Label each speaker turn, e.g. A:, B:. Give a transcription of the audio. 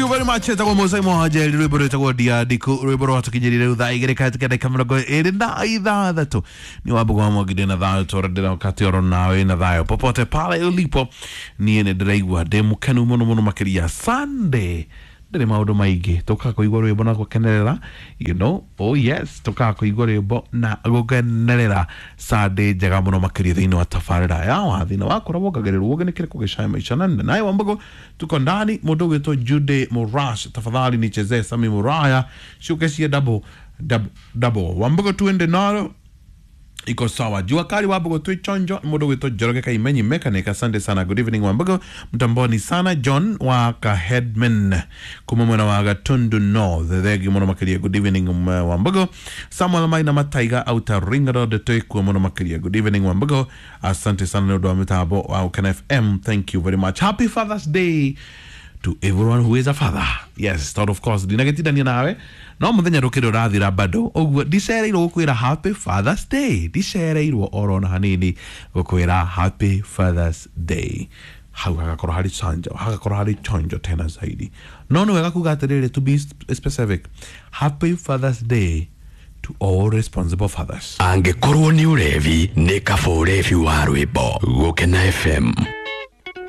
A: You very much. Etagwo Musa Mwanjeri, rwimbo rwĩtagwo Ndiandiku, rwimbo rwatũkinyĩrire rĩu thaa 2 kahetũkia ndagĩka 26. Nĩ Wambugu wa Mwangi, ndĩna thayũ tũra ndĩroka oro nawe na thayũ popote pale ulipo. Niĩ nĩ ndĩraigua ndĩ mũkenu mũno mũno makĩria. Sunday ndĩrĩ maũndũ maingĩ, tũkaga kũigua rwĩmbo na gũkenerera. Oh yes, tũkaga kũigua rwĩmbo na gũkenerera Sunday njega mũno makĩria thĩinĩ wa tabarĩra ya wathi na wakora wongagĩrĩrwo ũgĩ kĩrĩkũ gĩcae maisha na naye Wambugu tuko ndani. Mũndũ ũgwĩtwo Jude Murash, tafadhali nichezee Sami Muraya, ciũke cie double double double. Wambugu, tuende nalo, iko sawa. Jua kali, Wambugu, twi chonjo. Mũndũ gwĩtwo Njoroge Kaimenyi mechanic, asante sana. Good evening Wambugu, mtamboni sana. John wa Kaheadman kuma mwena wa Gatundu North, thengi mũno makĩria. Good evening Wambugu. Samuel Maina Mataiga auta Ring Road, twĩkuo mũno makĩria. Good evening Wambugu, asante sana nĩ ũndũ wa mĩtambo wa Ũkena FM, thank you very much. Happy Father's Day to everyone who is a father. Yes, tondũ of course ndinagĩtindania nawe no mũthenya ndũkĩrĩ ũrathira bado, ũguo ndicereirwo gũkwĩra Happy Father's Day, ndicereirwo oro na hanini gũkwĩra Happy Father's Day. Hau hagakorwo harĩ chanjo, hagakorwo harĩ chonjo tena zaidi. No nĩ wega kuga atĩrĩrĩ, to be specific, Happy Father's Day to all responsible fathers.
B: Angĩkorwo nĩ ũrevi, nĩ kaba ũrevi wa rwĩmbo. Gũkena FM.